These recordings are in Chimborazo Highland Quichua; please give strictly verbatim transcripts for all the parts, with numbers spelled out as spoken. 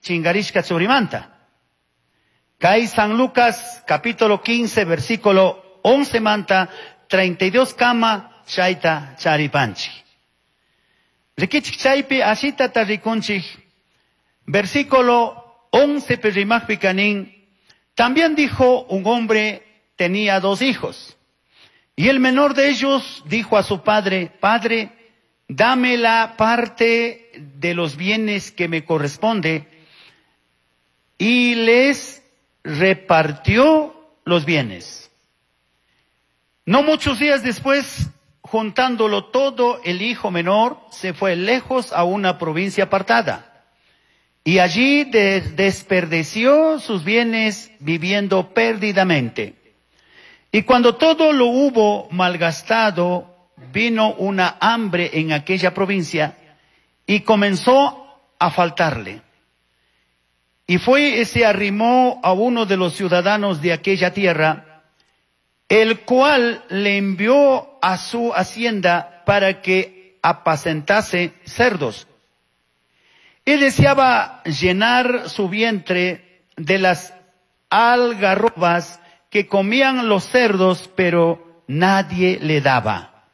Chingarishka churimanta. Kay San Lucas capítulo quince versículo once manta treinta y dos kama chayta charipanchik. Rikichik chaypi ashitata rikunchik. Versículo once rimaqpi kanin. También dijo un hombre tenía dos hijos. Y el menor de ellos dijo a su padre, Padre, dame la parte de los bienes que me corresponde. Y les repartió los bienes. No muchos días después, juntándolo todo, el hijo menor se fue lejos a una provincia apartada. Y allí des-, desperdició sus bienes viviendo perdidamente. Y cuando todo lo hubo malgastado, vino una hambre en aquella provincia y comenzó a faltarle. Y fue y se arrimó a uno de los ciudadanos de aquella tierra, el cual le envió a su hacienda para que apacentase cerdos. Y deseaba llenar su vientre de las algarrobas que comían los cerdos, pero nadie le daba.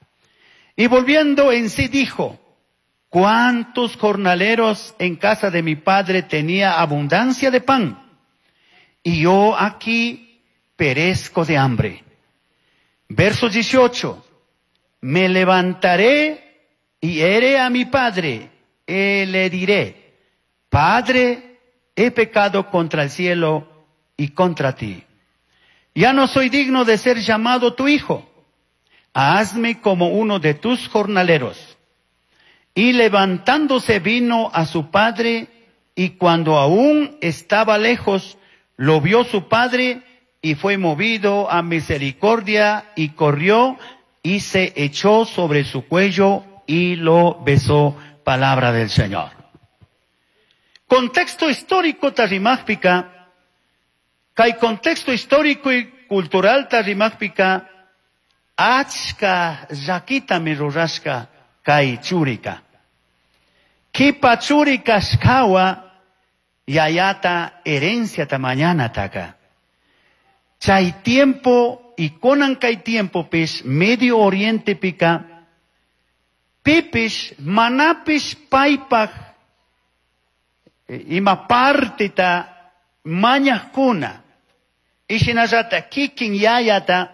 Y volviendo en sí dijo, ¿cuántos jornaleros en casa de mi padre tenía abundancia de pan? Y yo aquí perezco de hambre. Verso dieciocho, me levantaré y iré a mi padre, y le diré, Padre, he pecado contra el cielo y contra ti. Ya no soy digno de ser llamado tu hijo. Hazme como uno de tus jornaleros. Y levantándose vino a su padre, y cuando aún estaba lejos, lo vio su padre, y fue movido a misericordia, y corrió, y se echó sobre su cuello, y lo besó. Palabra del Señor. Contexto histórico tarrimájpica, kay contexto histórico y cultural tarrimájpica, achka llakitami rurashka kay churika. Kipa churi kashkawa yayata herencia mañana taka. Chay tiempo y konan kay tiempo pis Medio Oriente pika pipis manapis paypaj ima partita mañajkuna. Ishinallata kikin yayata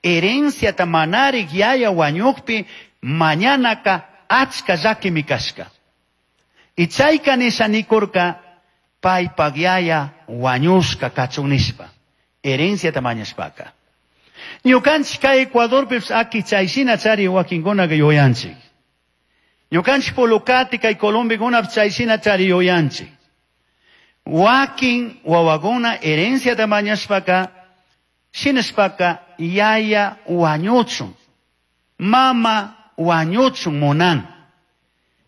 herenciata manarik yaya wañukpi mañanaka achka llakimi kashka. Y chayka nisha nikurka paypak yaya wañushka kachun nishpa herenciata mañashpaka. Ñukanchik kay Ecuadorpipis aki chayshina chari wakinkunaka yuyanchik. Ñukanchik Polocati kay Colombiakunapis chayshina chari yuyanchik. Wakin wawakuna herenciata mañashpaka shinashpaka yaya wañuchun, mama wañuchun munan.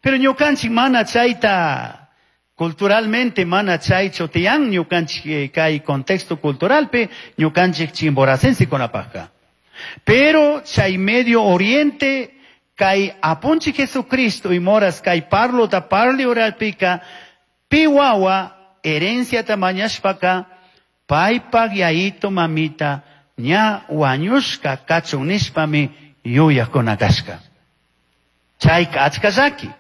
Pero ñukanchik mana chayta culturalmente mana chaychu tiyan ñukanchik kay contexto culturalpi ñukanchik chimboracense kunapajka. Pero chay Medio Oriente kay apunchik Jesucristo y moras kay parlo ta parli oralpika pi wawa herenciata mañashpaka paypak yayito mamita ña wañushka kachun nishpami yuyakuna kashka. Chayka achka llaki.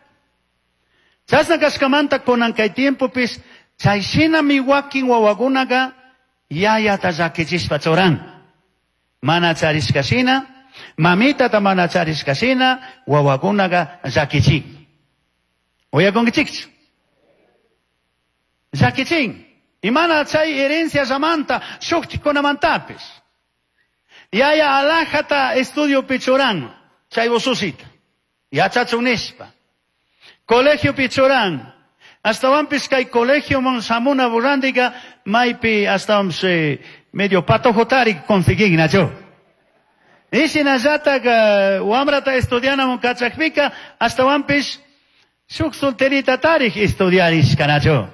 Chasna kashkamanta kunan kay tiempopis chay shinami wakin wawakunaka yayata llakichishpa churan. Mana charishka shina, mamitata mana charishka shina, wawakunaka llakichin. Uyakunkichikchu? Llakichin. Y mana chay herencia llamanta shuktikunamantapis. Yaya alajata estudio pichuran, chay ususita. Yachachun nishpa. Colegio pichuran. Astawanpis kay colegio mon samuna burrandiga maypi astawanpis eh, medio patojotari conseguin nacho. Ishinallataq wamrata estudianamun kachakpika astawanpis shuk solterita tarij estudiarishka nacho.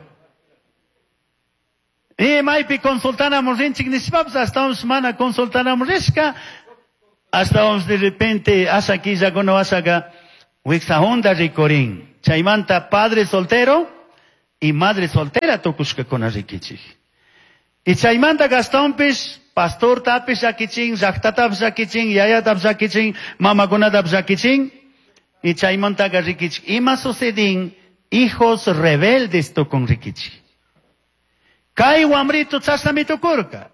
Y maypi consultanamun rinchik nishpapis astawanpis mana consultanamun rishka astawanpis de repente asha killakuna wasaka wiksahunda rikurin. Chaymanta padre soltero, Y madre soltera tukushkakuna rikichik. Y chaymanta Gastonpish, pastortapish llakichin, llaqtatapish llakichin, yayatapish llakichin, mamakunatapish llakichin. Y chaymantaka rikichik. Ima sucedin, hijos rebeldes tukun rikichik. Kay wamrito chashnami tukurka.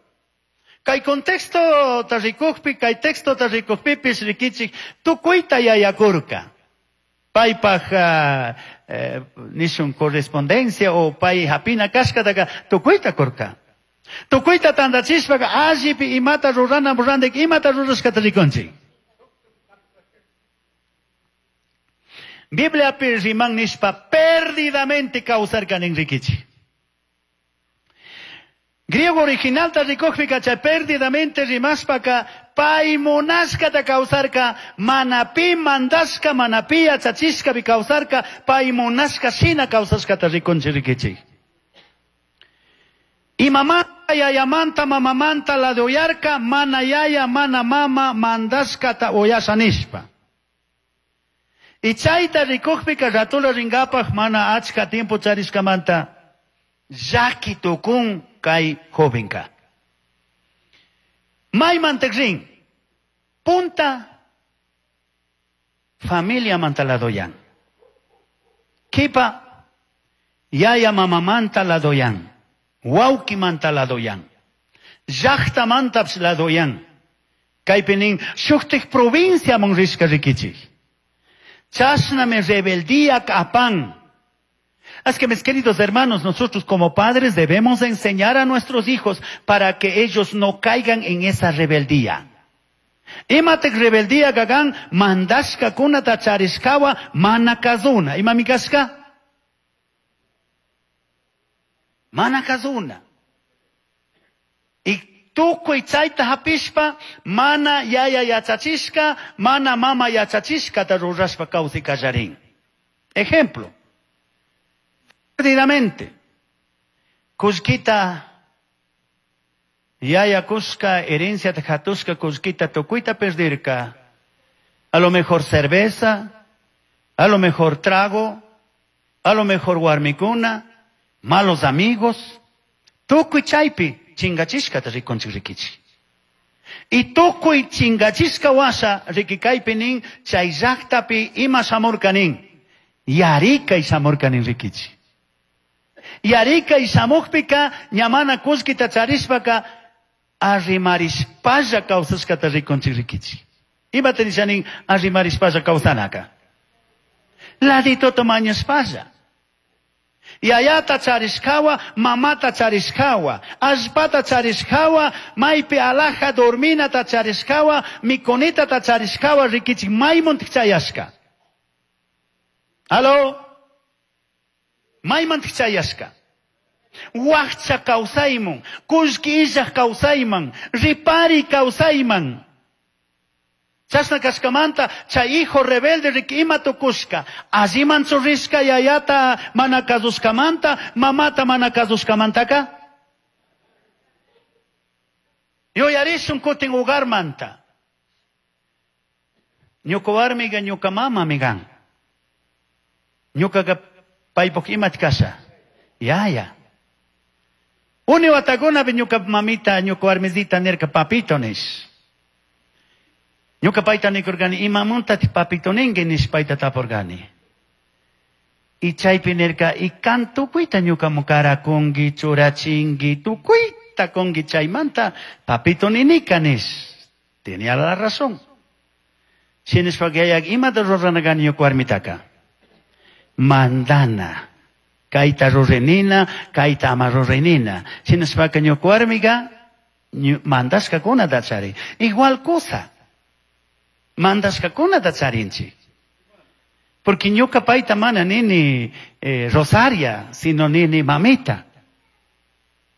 Kay contexto ta rikukpi, kay texto ta rikukpipish rikichik, tukuyta yayakurka. Paypaj uh, eh, nishun correspondencia o pay hapina kashkataka tukuyta kurka. Tukuyta tantachishpaka allipi imata rurana randik imata rurashkata rikunchik. Bibliapi riman nishpa perdidamente kawsarka nin rikichik. Griego original ta rikukpika chay perdidamente rimashpaka pay munashkata kawsarka, mana pi mandashka, mana pi yachachishkapi kawsarka, pay munashka shina kawsashkata rikunchik rikichik. Imamanta yayamanta mamamanta la de uyarka, mana yaya, mana mama mandashkata uyasha nishpa. Y chayta rikukpika ratula ringapaj mana achka tiempo charishkamanta llaki tukun kay jovenka. Maymanta rin, punta familia manta ladoyan. Kipa yaya mamamanta ladoyan. Wawqi manta ladoyan. Llaqta mantapis ladoyan. Kaypi nin shuktik provinciaman rishka rikichik. Chashnami rebeldía apan. Así que mis queridos hermanos, nosotros como padres debemos enseñar a nuestros hijos para que ellos no caigan en esa rebeldía. Imatek rebeldía gagan mandashka kunata charishkawa mana kazuna. Imami kashka? Mana kazuna. Y tukuy chayta hapishpa mana yaya yachachishka, mana mama yachachishkata rurashpa kawsay kallarin. Ejemplo. Perdidamente, kullkita, yaya kushka, herencia hatushka, kullkita tukuyta perdirka. A lo mejor cerveza, a lo mejor trago, a lo mejor warmikuna, malos amigos. Tukuy chaypi chingachishkata rikunchik rikichik. Y tukuy chingachishka washa rikikaypi nin chay llaqtapi ima shamurka nin. Yarikay shamurka nin rikichik. Yarikay shamukpika ñamana kullkita charishpaka arrimarishpalla kawsashkata rikunchik rikichik. Imata nisha nin arrimarishpalla kawsanaka? Laditoto mañashpalla. Yayata charishkawa, mamata charishkawa, allpata charishkawa, maypi alaja dorminata charishkawa, mikunitata charishkawa rikichik maymuntik chayashka. Aló? Maymantik chayashka. Wakcha kawsayman, kullki illaj kawsayman, ripari kawsayman. Chashna kashkamanta chay hijo rebelde riki ima tukushka. Alliman churishka yayata mana kasushkamanta, mamata mana kasushkamantaka. Yuyarishun kutin hogarmanta. Ñuka warmiga ñuka mamami kan. Ñukaqa paypuk imat kasha. Yaya. Uni watakunapi ñuka mamita, ñuka warmisita nirka papito nish. Ñuka payta nikurkani, imamuntati papito ninki nish payta tapurkani. Y chaypi nirka, y kan tukuyta ñukamu karakunki, churachinki, tukuyta kunki chaymanta, papito ninika nish. Tenía la razón. Shinashpaka yayak imata rurana kani ñuka warmitaka. Mandana. Kayta rurenina, kayta ama rurenina. Shinashpaka ñuka warmika, mandashkakunata charin. Igual cosa. Mandashkakunata charinchik. Porque ñuka payta mana nini eh, Rosaria, sino nini mamita.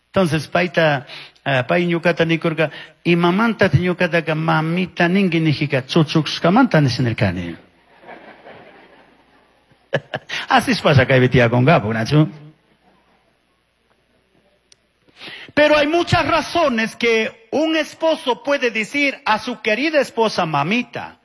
Entonces payta, uh, pay ñukata nikurka, imamanta ñukataka mamita ninki nijika chuchushkamanta nishinirkani. Así pasa kaypi tiyakunkapu, ¿nachu? Pero hay muchas razones que un esposo puede decir a su querida esposa mamita.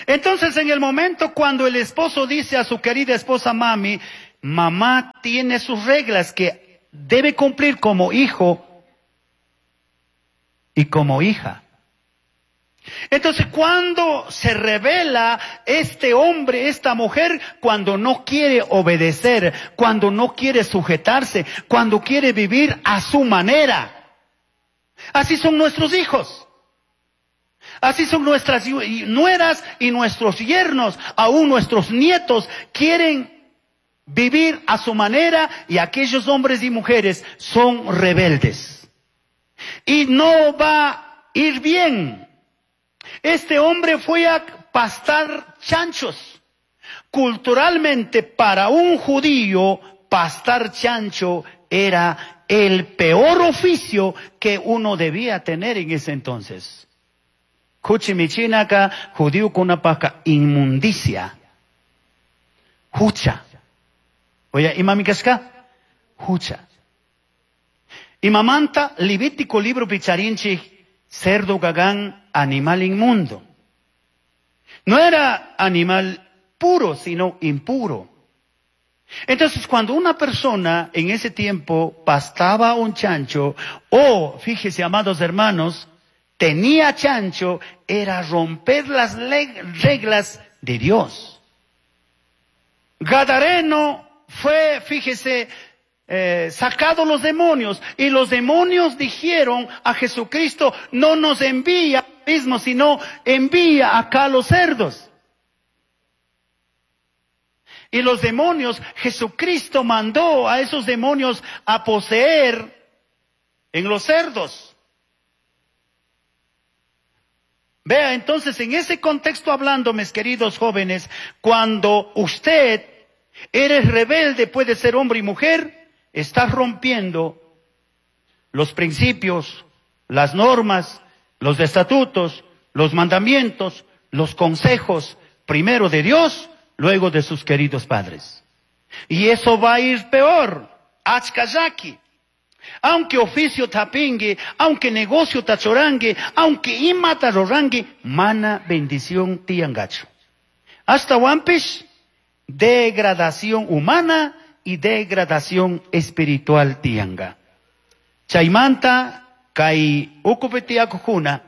Entonces, en el momento cuando el esposo dice a su querida esposa mami, mamá tiene sus reglas que debe cumplir como hijo y como hija. Entonces, cuando se revela este hombre, esta mujer, cuando no quiere obedecer, cuando no quiere sujetarse, cuando quiere vivir a su manera. Así son nuestros hijos. Así son nuestras nueras y nuestros yernos, aún nuestros nietos quieren vivir a su manera, y aquellos hombres y mujeres son rebeldes. Y no va a ir bien. Este hombre fue a pastar chanchos. Culturalmente, para un judío, pastar chancho era el peor oficio que uno debía tener en ese entonces. Kuchimichinaka, judío con una paca, inmundicia. Hucha. Oye, imamikashka, hucha. Imamanta, Levítico libro picharinchi, cerdo gagán, animal inmundo. No era animal puro, sino impuro. Entonces, cuando una persona en ese tiempo pastaba un chancho, o, fíjese, amados hermanos, tenía chancho, era romper las reglas de Dios. Gadareno fue, fíjese, eh, sacado los demonios, y los demonios dijeron a Jesucristo, no nos envía mismo, sino envía acá a los cerdos. Y los demonios, Jesucristo mandó a esos demonios a poseer en los cerdos. Vea, entonces, en ese contexto hablando, mis queridos jóvenes, cuando usted eres rebelde, puede ser hombre y mujer, estás rompiendo los principios, las normas, los estatutos, los mandamientos, los consejos, primero de Dios, luego de sus queridos padres. Y eso va a ir peor. Achkayaki. Aunque oficio tapingue, aunque negocio tachorangue, aunque imata rorangue, mana bendición tiangacho. Hasta wampish, degradación humana y degradación espiritual tianga. Chaymanta, kai ukupetiakujuna,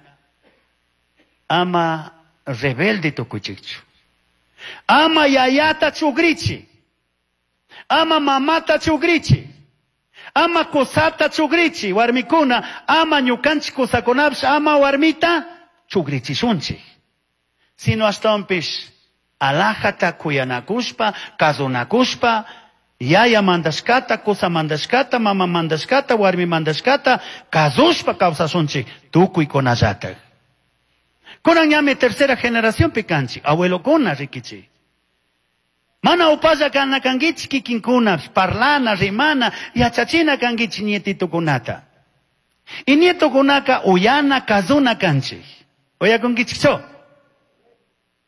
ama rebelde tukuchichu. Ama yayata chugrichi. Ama mamata chugrichi. Ama kusata chugrichi, warmikuna, ama ñukanchik kusakunapish, ama warmita chugrichishunchik. Sino ashtawanpish alajata kuyanakushpa, kasunakushpa, yaya mandashkata, kusa mandashkata, mama mandashkata, warmi mandashkata, kasushpa kawsashunchik, tukuykunallatak. Kunan ñami tercera generación pikanchik, abuelokuna rikichik. Mana upalla kana kangichik kikinkuna, parlana, rimana, yachachina kangichik nietitukunata. Y nietokunaka uyana, kazuna kanchik. Oyakunkichikcho?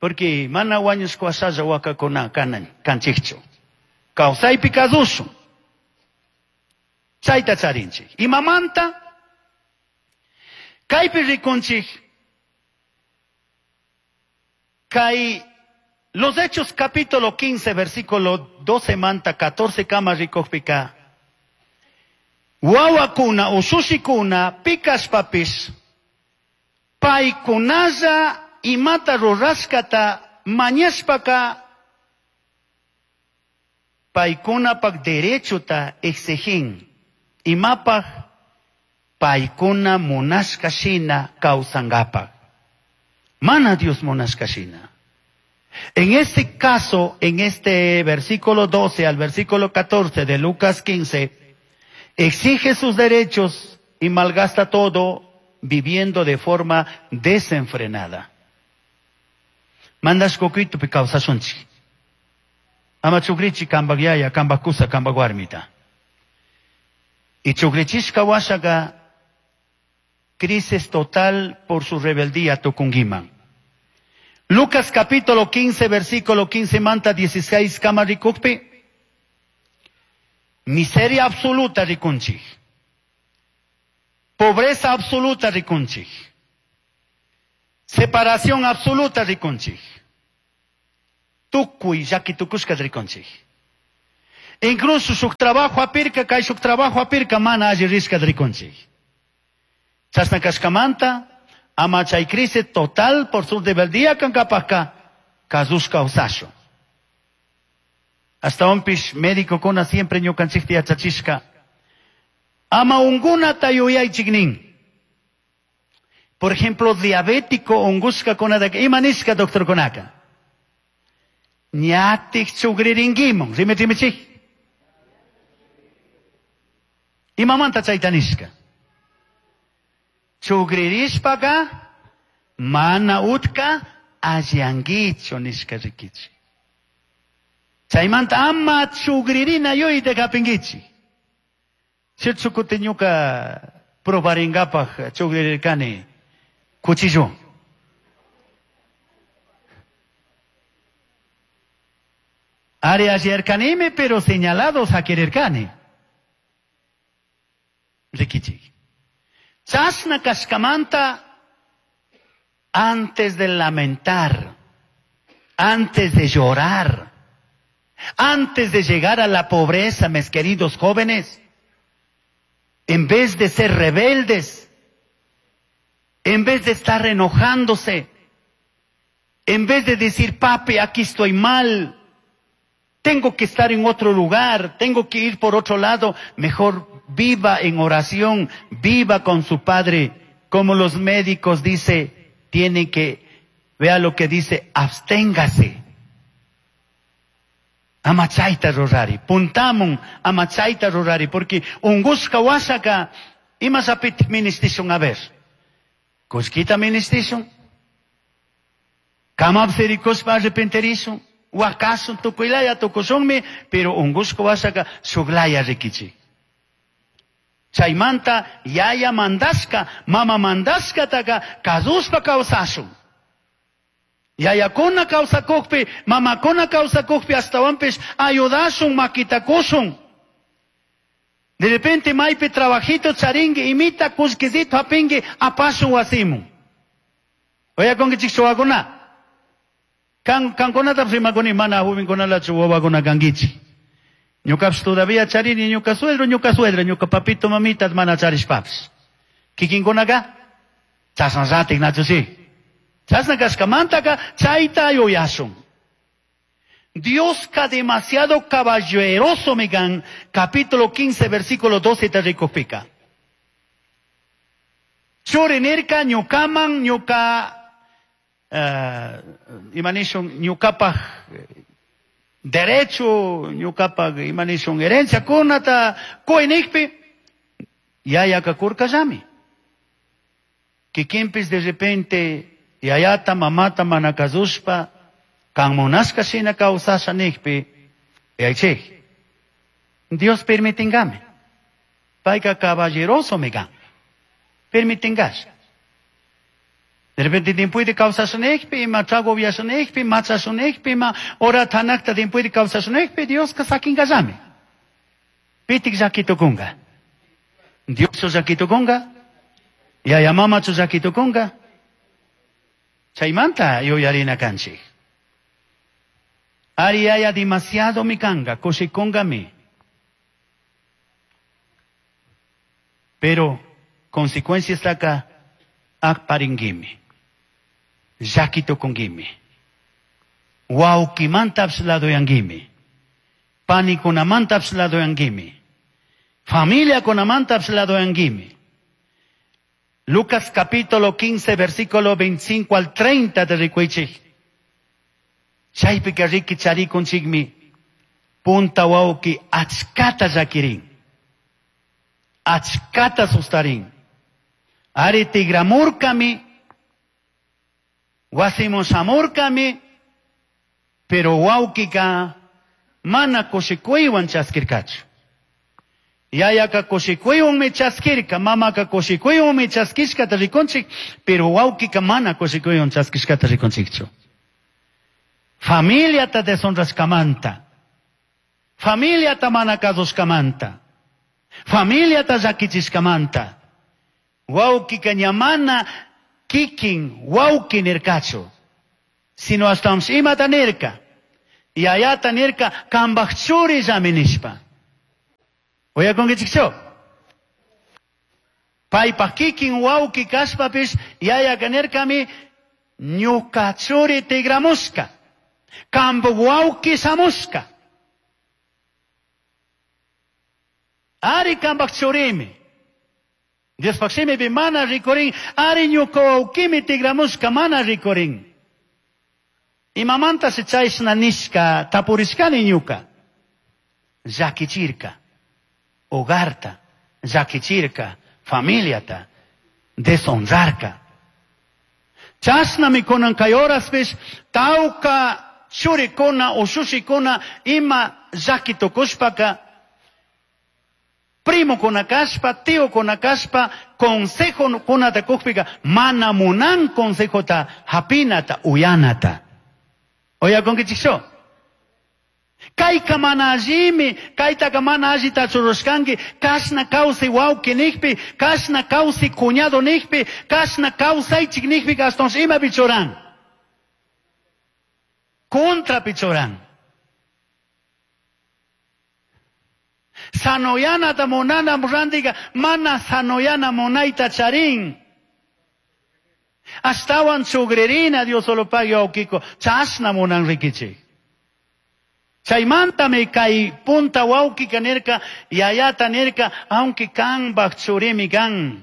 Porque mana wañushka wasalla wakakuna kanan kanchikchu. Kawsaypi kasushun. Chayta charinchik. Imamanta, kaypi rikunchik, kay Los Hechos capítulo quince, versículo doce manta, catorce kama rikojpika. Wawakuna, ushushikuna, pikashpapis, paykunalla imata rurashkata mañashpaka, paykunapak derechota exigin, imapaj paykuna munashka shina kawsangapak. Mana Dios munashka shina. En este caso, en este versículo doce al versículo catorce de Lucas quince, exige sus derechos y malgasta todo viviendo de forma desenfrenada. Mandas coquito pi kawsashunchik. Ama chukrichi kambak yaya, kambak kusa, kambak warmita. Y chukrichishka washaga crisis total por su rebeldía tukungiman. Lucas capítulo quince, versículo quince, manta dieciséis, kama rikukpi. Miseria absoluta rikunchik. Pobreza absoluta rikunchik. Separación absoluta rikunchik. Tukuy llaki tukushka rikunchik. Incluso shuk trabajo apirka, kay shuk trabajo apirka mana alli rishka rikunchik. Chashna kashkamanta, ama chay crisis total por su rebeldía kankapajka, kasushka kawsashun. Ashtawanpish médicokuna siempre ñukanchikta yachachishka. Ama ungunata yuyaychik nin. Por ejemplo, diabético ungushkakunataka, ima nishka doctorkunaka? Ñatik chugririnkimun, rimi rimichik. Imamanta chayta nishka? Chugririshpaka mana utka alliankichu nishka rikichik. Chaymanta ama chugririna yuyayta hapinkichik. Cierto kutin ñuka probaringapaj chugririrkani cuchillo. Ari alliyarkanimi, pero señalados hakirirkani. Rikichik. Chashna kashkamanta, antes de lamentar, antes de llorar, antes de llegar a la pobreza, mis queridos jóvenes, en vez de ser rebeldes, en vez de estar enojándose, en vez de decir, papi, aquí estoy mal, tengo que estar en otro lugar, tengo que ir por otro lado, mejor viva en oración, viva con su padre, como los médicos dice, tiene que, vea lo que dice, absténgase. Amachaita rurari, puntamun amachaita rurari, porque ungushka washaka, imasapit ministishun a ver. Kushkita ministishun, kamapsirikushpa arrepenterishun, wakasun tukuylaya tukushunmi, pero ungushka washaka shuglaya rikichik. Chaymanta yaya mandashka, mama mandashkataka kasushpa kawsashun. Yayakuna kawsakukpi, mamakuna kawsakukpi, ashtawanpish ayudashun, makitakushun. De repente maypi trabajito charingi, imita kullkisito hapingi, apashun wasimun. Oyakunkichik chuwakuna. Kan kankunata rimakuni mana jovenkunalachu wawakuna kankichik. Ñukapish todavía charini, ñuka suegro, ñuka suegra, ñuka papito, mamita, mana charishpapish. Kikinkunaka, chashnallati nachu si. Chashna kashkamantaka chayta yuyashun. Dioska demasiado caballeroso migan, capítulo quince, versículo doce te rikupika. Churi nirka ñukaman ñuka, uh, imanishun ñukapaj derecho, ñukapaj imanishun herencia kunata kuinikpi, yayaka kurkallami. Kikinpis de repente yayata mamata mana kasushpa, kan munashka shina kawsasha nikpi, yaychik, Dios permitingame. Payka caballeroso migan. Permitingash. De repente tiempuiti kawsasha nikpi, ima trago viasha nikpi, machasha nikpi, ima ora tanakta tiempuiti kawsasha nikpi, Dios sakinkallami. Pitik llakitukunga. Dios llakitukunga. Yaya mamachu llakitukunga. Chaymanta yuyarina kanchik. Ari yaya demasiado mi kanga, kushikunga mi. Pero consecuencias taka akparingimi. Llakitukunkimi. Wawkimantapish ladoyankimi. Panikunamantapish ladoyankimi. Familiakunamantapish ladoyankimi. Lucas capítulo quince, versículo veinticinco al treinta de rikuichik. Chaypika riki charikunchikmi punta wawki achkata llakirin. Achkata sustarin. Ari tigramurkami, wasimun shamurkami, pero wawkika mana kushikuywan chaskirkachu. Yayaka kushikuywanmi chaskirka, mamaka kushikuywanmi chaskishkata rikunchik, pero wawkika mana kushikuywan chaskishkata rikunchikchu. Familiata deshonrashkamanta, familiata mana kasushkamanta, familiata llakichishkamanta, wawkika ña mana kikin wawki nirkachu, sino ashtawanpish imata nirka, Yayata nirka kambaj churillami nishpa. Uyakunkichikchu? Paypaj kikin wawki kashpapish yayaka nirkami ñuka churi tigramushka. Kambuj wawki shamushka. Ari kambaj churimi. Diospaj shimipi mana rikurin, ari ñuka wawkimi tigramushka mana rikurin. Imamanta se chayshna nishka tapurishkani ñuka. Llakichirka, hogarta, llakichirka, familiata, deshonrarka. Chashnami kunan kay horaspish tawka churikuna ushushikuna ima llaki tukushpaka primo kuna kashpa, tío kuna kashpa, consejo kunata kukpika mana munan consejota hapinata uyanata. Oyakunkichikchu? Kayka mana allimi, kaytaka mana allita churushkanki, kashna kawsay wawqi nijpi, kashna kawsay cuñado nijpi, kashna kawsaychik nijpi, ashtawanshi imapi churan. Contrapi churan. Sanoyanata munana rantika mana sanoyana munayta charin. Ashtawan chugririna Dios solo pague wawkiko, chashna munan rikichik. Chaymantami kay punta wawkika nirka, yayata nirka, aunque kanpaj churimi kan.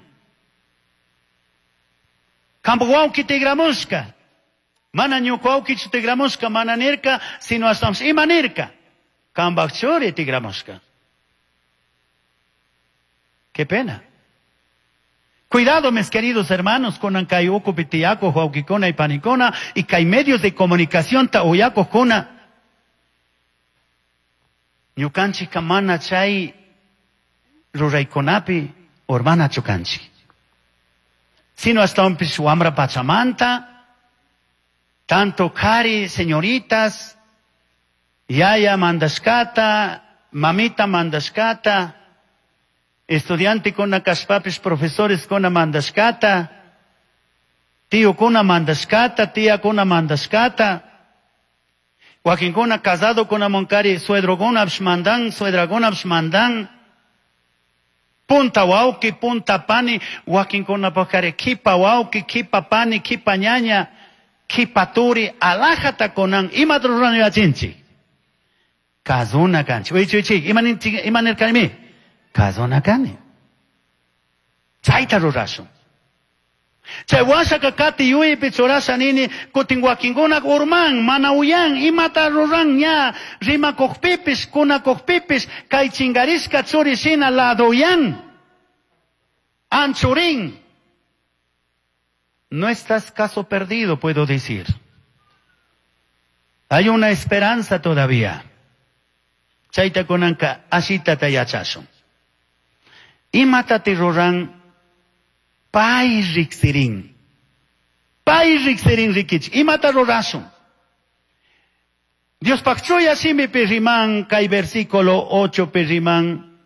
Kanpaj wawki tigramushka. Mana ñuka wawkichu tigramushka, mana nirka, sino ashtawanpish ima nirka. Kanpaj churi tigramushka. Qué pena. Cuidado, mis queridos hermanos, con kay ukupi tiyako, wawkikuna y panikuna, y kay medios de comunicación ta uyakojkuna. Ñukanchikka mana chay ruraykunapi urmanachu kanchik. Sino ashtawanpish wamra pachamanta, tanto kari, señoritas, yaya mandashkata, mamita mandashkata, estudiantekuna kashpapish profesoreskuna mandashkata, tíokuna mandashkata, tiakuna mandashkata, wakinkuna casadokunamunkari suedrokunapish mandan, suedrakunapish mandan, punta wawki, punta pani, wakinkunapajkari kipa wawki, kipa pani, kipa ñaña, kipa turi, alajata kunan, imata rurana yachinchik. Kazuna kanchik. Wichi, wichi, ima nirkanimi? Kazuna kani. Chayta rurashun. Chay washaka kati yuyaypi churasha nini, kutin wakinkuna urman, mana uyan, imata ruran ña, rimakujpipish, kunakujpipish, kay chingarishka churi shina ladoyan, anchurin. No estás caso perdido, puedo decir. Hay una esperanza todavía. Chayta kunanka ashitata yachashun. Imatati ruran pay riksirin. Pay riksirin rikichik. Imata rurashun. Diospaj chuya shimipi riman kay versículo ocho pi riman.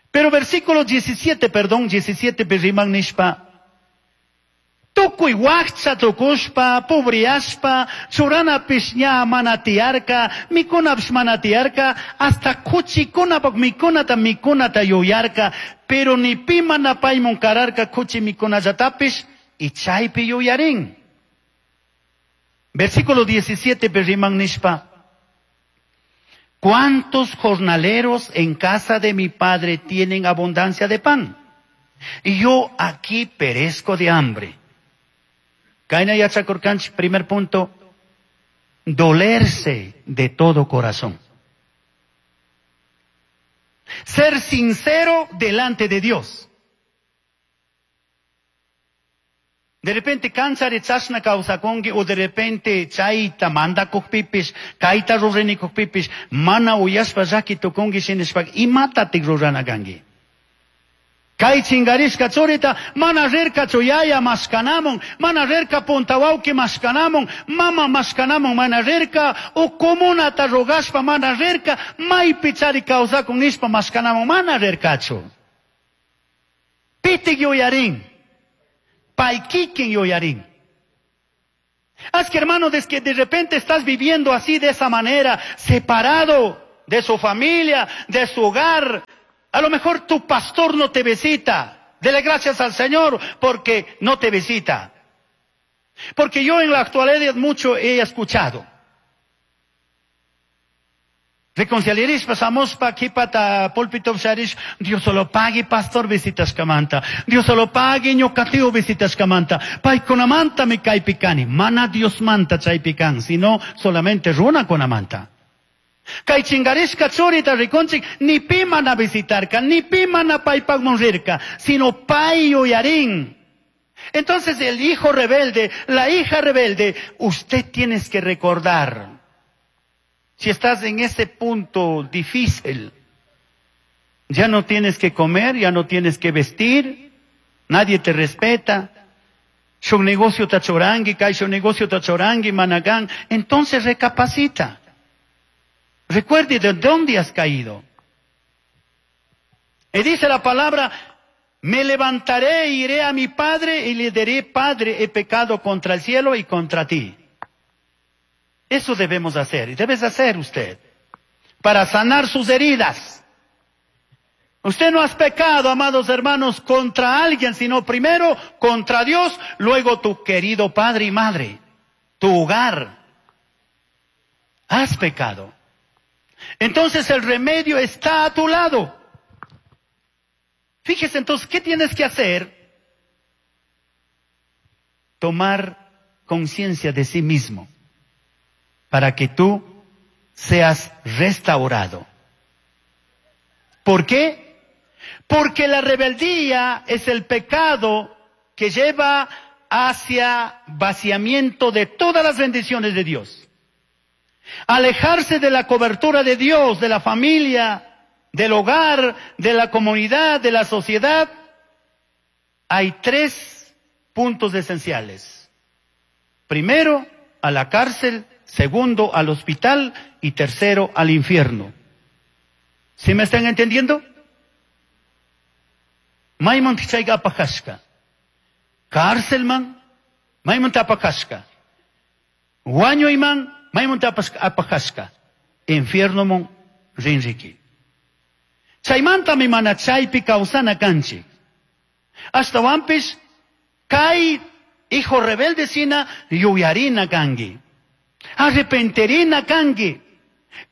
Pero versículo diecisiete, perdón, diecisiete pi riman nishpa. Tukuy wakcha tukushpa, pobriashpa, churanapish ña mana tiyarka, mikunapish mana tiyarka, hasta kuchikunapak mikunata mikunata yuyarka, pero ni pi mana paymun kararka kuchi mikunallatapish, y chaypi yuyarin. Versículo diecisiete riman nishpa. ¿Cuántos jornaleros en casa de mi padre tienen abundancia de pan? Y yo aquí perezco de hambre. Kayna yachakurkanchik, primer punto, dolerse de todo corazón. Ser sincero delante de Dios. De repente kanchari chashna kawsakunki o de repente chayta mandakukpipish, kayta ruranikukpipish, mana uyashpa llaki tukunki shinashpaka imatatik rurana kanki. Kay chingarishka churita mana rirkachu yaya mashkanamun, mana rirka punta wawki mashkanamun, mama mashkanamun mana rirka, o comunata rogashpa mana rirka, maypi chari kawsakun nishpa mashkanamun mana rirkachu. Pitik yuyarin, pay kikin yuyarin. Haz que hermano, desde que de repente estás viviendo así, de esa manera, separado de su familia, de su hogar. A lo mejor tu pastor no te visita. Dele gracias al Señor porque no te visita. Porque yo en la actualidad mucho he escuchado. Reconciliaris pasamos pa aquí pata púlpito sharish, Dios solo pague pastor visitas kamanta. Dios solo pague ñocatio visitas kamanta. Paykunamanta me caipicani. Mana Dios manta chaypican, sino solamente runa conamanta. Kay chingarishka churita rikunchik, ni pi mana visitarka, ni pi mana paypakman rirka, sino pay yuyarin. Entonces el hijo rebelde, la hija rebelde, usted tienes que recordar. Si estás en ese punto difícil, ya no tienes que comer, ya no tienes que vestir, nadie te respeta. Su negocio tachorangi, kai su negocio tachorangi, managán. Entonces recapacita. Recuerde de dónde has caído. Y dice la palabra, me levantaré e iré a mi padre y le diré, Padre, he pecado contra el cielo y contra ti. Eso debemos hacer, y debes hacer usted, para sanar sus heridas. Usted no has pecado, amados hermanos, contra alguien, sino primero contra Dios, luego tu querido padre y madre, tu hogar. Has pecado. Entonces el remedio está a tu lado. Fíjese entonces, ¿qué tienes que hacer? Tomar conciencia de sí mismo, para que tú seas restaurado. ¿Por qué? Porque la rebeldía es el pecado que lleva hacia vaciamiento de todas las bendiciones de Dios. Alejarse de la cobertura de Dios, de la familia, del hogar, de la comunidad, de la sociedad. Hay tres puntos esenciales. Primero, a la cárcel. Segundo, al hospital. Y tercero, al infierno. ¿Sí me están entendiendo? Maimon tichayga apakashka. Cárcelman, maimon tapakashka. Wañuyman, maimon apakashka. Infierno mon rinriki. Chaymanta mi mana chaypi kawsana kanchik. Ashtawanpish, kay hijo rebelde sina yuyarina kanki. Arrepenterina kanki.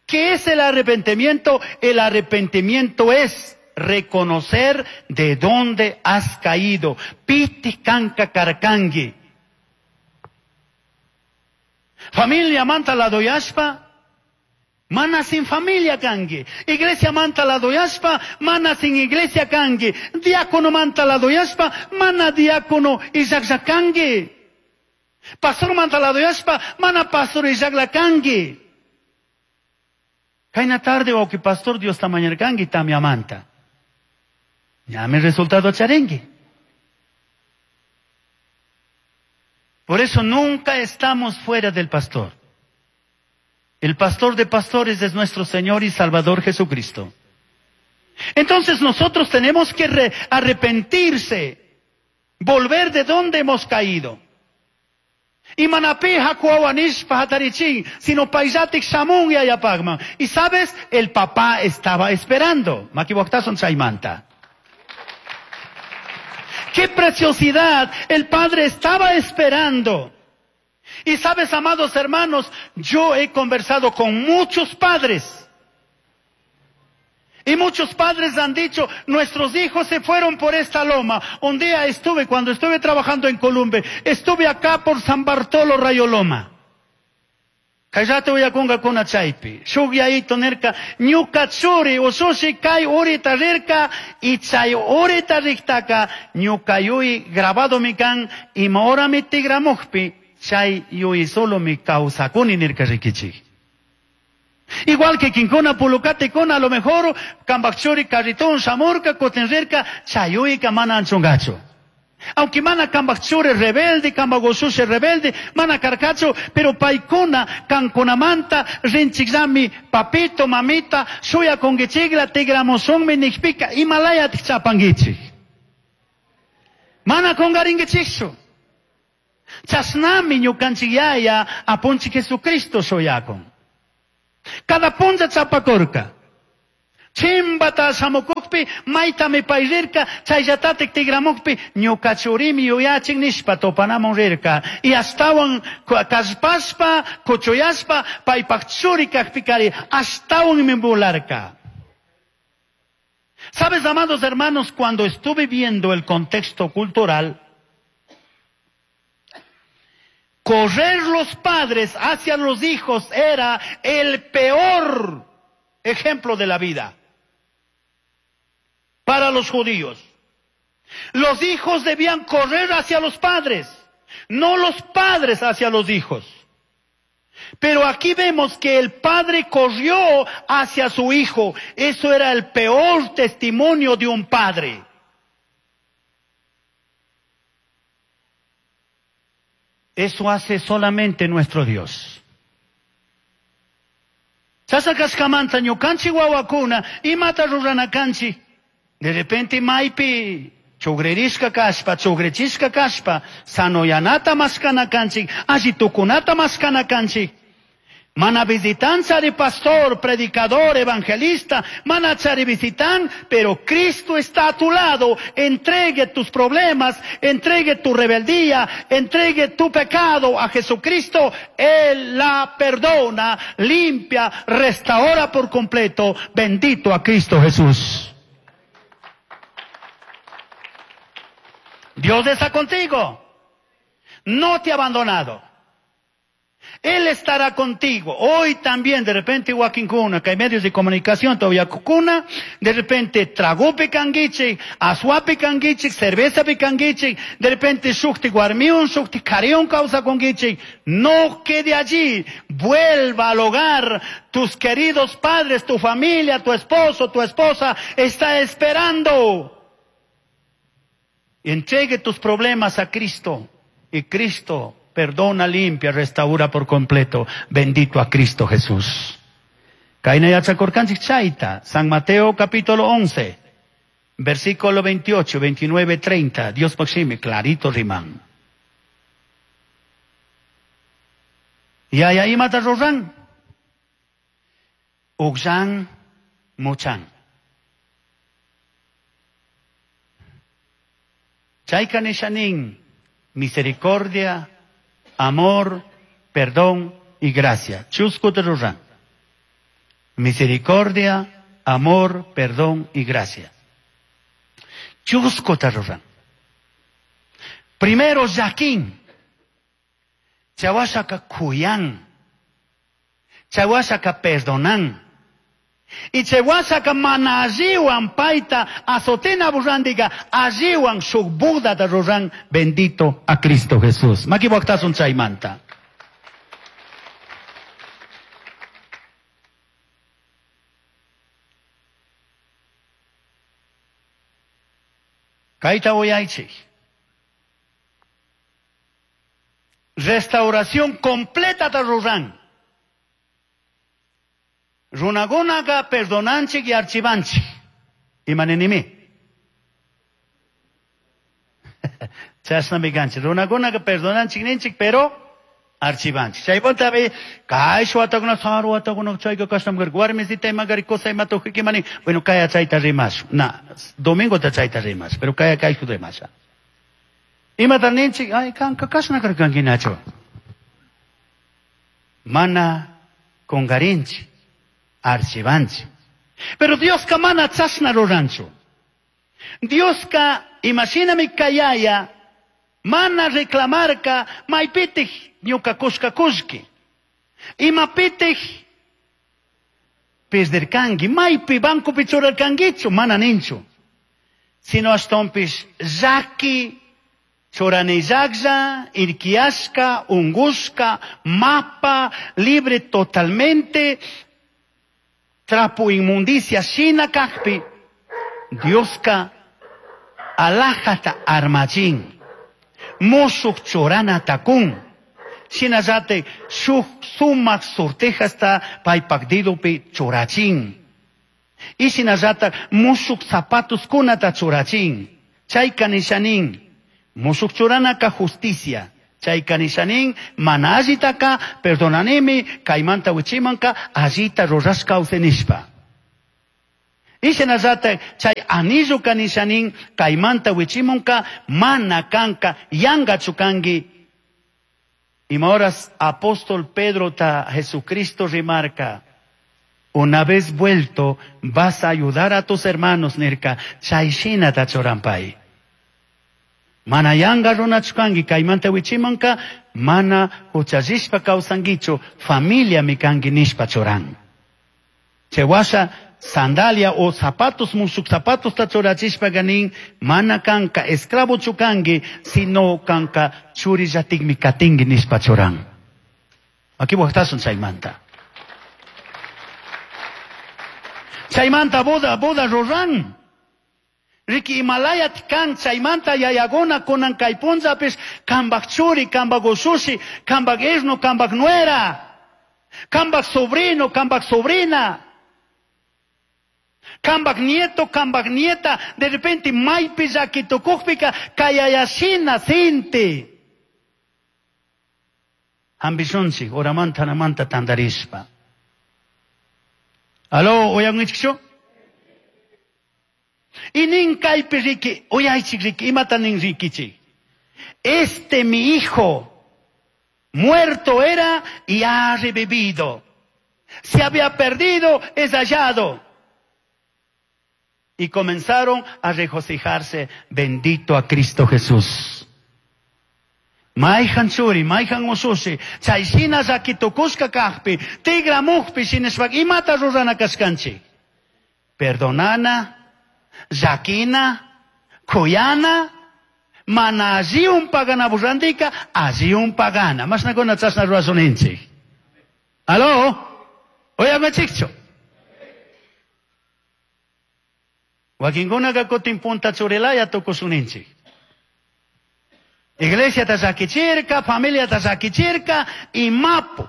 ¿Qué es el arrepentimiento? El arrepentimiento es reconocer de dónde has caído. Piti kanka karkangi. Familia manta la doyashpa, mana sin familia kangi. Iglesia manta la doyashpa, mana sin iglesia kangi. Diácono manta la doyashpa, mana diácono y kangi. Pastor manta la doyashpa, mana pastor y kangi. Kaina tarde o que pastor Dios tamañerkangi tamia manta. Ya me resultado charengue. Por eso nunca estamos fuera del pastor. El pastor de pastores es nuestro Señor y Salvador Jesucristo. Entonces nosotros tenemos que arrepentirse, volver de donde hemos caído. Y manapi hakuawanishpa hatarichin, sino paisatik shamun y ayapagman. Y sabes, el papá estaba esperando. Makiwaktason chaymanta. ¡Qué preciosidad! El padre estaba esperando. Y sabes, amados hermanos, yo he conversado con muchos padres. Y muchos padres han dicho, nuestros hijos se fueron por esta loma. Un día estuve, cuando estuve trabajando en Columbe, estuve acá por San Bartolo Rayoloma. Kayate uyakunga kuna chaypi. Shuk yayito nirka, ñuka churi ushushi kay urita rirka, y chay urita riktaka, ñuka yuy grabado mi kan, ima hora mi tigramukpi, chay yuy solo mi kawsakuni nirka rikichik. Igual que quincona pulucate con a lo mejor kambakchuri carritón shamurka kotenrirka chayuika mana anchungacho. Aunque mana kambakchuri rebelde, kambagoshushi rebelde, mana karkacho, pero paikuna kankunamanta rinchikzami papito mamita shuya kongichigla tigramosonmi nikpika himalaya tichapangichik. Mana kongaringichikchu. Chashnami ñukanchik yaya apunchik Jesucristo shuyakun. Cada punlla chapakurka. Chimbata shamukukpi maytami pay rirka, chayllatatik tigramukpi ñuka churimi yuyachin nishpa topanamun rirka. Y ashtawan kallpashpa, kuchuyashpa, paypak churi kakpikari ashtawanmi volarka. Sabes, amados hermanos, cuando estuve viendo el contexto cultural, correr los padres hacia los hijos era el peor ejemplo de la vida para los judíos. Los hijos debían correr hacia los padres, no los padres hacia los hijos. Pero aquí vemos que el padre corrió hacia su hijo. Eso era el peor testimonio de un padre. Eso hace solamente nuestro Dios. Chasakashkamanta ñukanchik wawakuna imata ruranakanchik. De repente maypi chugririshka kashpa, chugrichishka kashpa, sanoyanata mashkanakanchik, alli tukunata mashkanakanchik. Mana visitan chari pastor, predicador, evangelista, mana chari visitan, pero Cristo está a tu lado. Entregue tus problemas, entregue tu rebeldía, entregue tu pecado a Jesucristo. Él la perdona, limpia, restaura por completo. Bendito a Cristo Jesús. Dios está contigo. No te ha abandonado. Él estará contigo. Hoy también, de repente, wakinkuna, que hay medios de comunicación todavía kukuna, de repente, trago picanguichi, asua picanguichi, cerveza picanguichi, de repente, shukti guarmiun, shukti carión causa conguichi. No quede allí. Vuelva al hogar. Tus queridos padres, tu familia, tu esposo, tu esposa, está esperando. Entregue tus problemas a Cristo. Y Cristo perdona, limpia, restaura por completo. Bendito a Cristo Jesús. Kaina yachakurkanchik chayta. San Mateo capítulo once, versículo veintiocho, veintinueve, treinta. Dios maxime, clarito riman. Yaya imata ruran. Uxan muchan. Chayka nishanin, misericordia, amor, perdón y gracia. Chusco te ruran. Misericordia, amor, perdón y gracia. Chusco te ruran. Primero, Jaquín. Chawashaka kuyan. Chawashaka perdonan. Y chawashaka mana alliwan paita azotina burrandiga alliwan shuk Buda ta ruran. Bendito a Cristo Jesús. Makiwaktasun chaymanta. Kayta uyaychik. Restauración completa ta ruran. Runagunaga perdonanchik y archivanchik. Imanenimi. Chashnami kanchik. Runagunaga perdonanchik ninchik, pero archivanchik. Chaypuntapi kay watakunaka saru watakunaka chayka kashnam karka. Warmisita imagari cosa imatuqui mani. Bueno, kaya chayta rimash. Na, domingo ta chayta rimash, pero kaya kayku rimasha. Imata ninchik, ay kanka kashna karkankinachu. Mana kungarinchik. Archivanchi. Pero Diosca mana chashna ruranchu. Diosca, imashinami kayaya, mana reclamarka, maypitij ñuka kushka kushki. Imapitij perderkanki, maypi bancopi churarkankichu, mana ninchu. Sino ashtonpish llaki, churanillaklla, irkiashka, ungushka, mapa, libre totalmente, trapo inmundicia, shina kakpi, Dioska alajata armachin, mushuk churana takun, shinallate shuk sumak sortejasta paypak didupi churachin, y shinallata mushuk zapatos kunata churachin, chayka nishanin, mushuk churanaka justicia, Chay kanishanin mana allitaka perdonanimi kaymanta wichimanka allita rurashka kawsanishpa. Ishinallata chay anillo kanishanin kaymanta wichimunka mana kanka yangachu kanki. Ima horas apóstol Pedro ta Jesucristo remarca, una vez vuelto vas a ayudar a tus hermanos nirka chay shinata churanpay. Mana yanga runachu kanki kaymanta wichimanka mana huchallishpa kawsankichu familia mi kanki nishpa churan. Chay washa sandalia o zapatos mushuk zapatos ta churachishpa ganin mana kanka esclavo chukanki sino kanka churillatikmi katinki nishpa churan. Aquí waqtasun chaymanta. Chaymanta boda boda ruran. Riki Himalayat kan chaymanta yayaguna kunan kay punllapis kambak churi, kambak ushushi, kambak yerno, kambak nuera, kambak sobrino, kambak sobrina, kambak nieto, kambak nieta, de repente maypi llaki tukukpika kayayashina sinti. Hambishunchik, horamanta namanta tandarishpa. Aló, uyankichikchu? Y nin kaypi riki, uyaychik riki, imata nin rikichik. Este mi hijo, muerto era y ha revivido. Se había perdido, es hallado. Y comenzaron a regocijarse, bendito a Cristo Jesús. Mayhan churi, mayhan usushi, chay shina llaki tukushka kajpi, tigramujpi shinashpaka imata rurana kashkanchik. Perdonana, llakina, kuyana, mana alliun pagana burrandika, alliun pagana. Mashnakuna chashna rurashuninchik. Aló, uyankichikchu. Wakinkunaka kutin punta churilaya tukushuninchik. Iglesia ta llakichirka, familia ta llakichirka, imapu.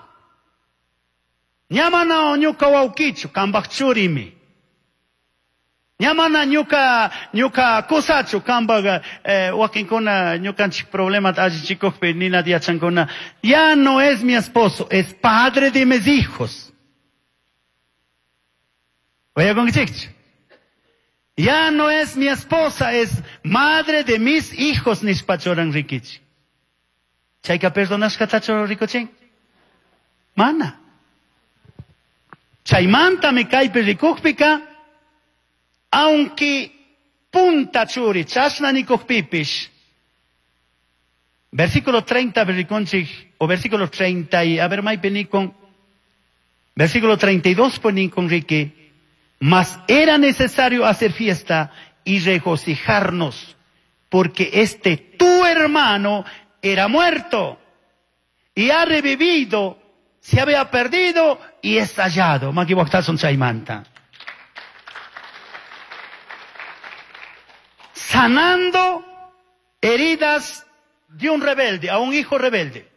Ña mana ñuka wawkichu, kambak churimi. Ña mana ñuka, ñuka kusachu, kambak, eh, wakinkuna ñukanchik problemata allichikukpi nina yachankuna. Ya no es mi esposo, es padre de mis hijos. Uyakunkichikchu. Ya no es mi esposa, es madre de mis hijos, nishpa churan rikichik. Chayka perdonashkatachu rikuchin? Mana. Chaymantami kaypi rikukpika, aunque punta churi, chashna nikukpipish. Versículo treinta rikunchik, o versículo treinta y, a ver, maypi nikun, versículo treinta y dos nikun riki. Mas era necesario hacer fiesta y regocijarnos, porque este tu hermano era muerto y ha revivido, se había perdido y es hallado. Maki waqtasun chaymanta. Sanando heridas de un rebelde, a un hijo rebelde.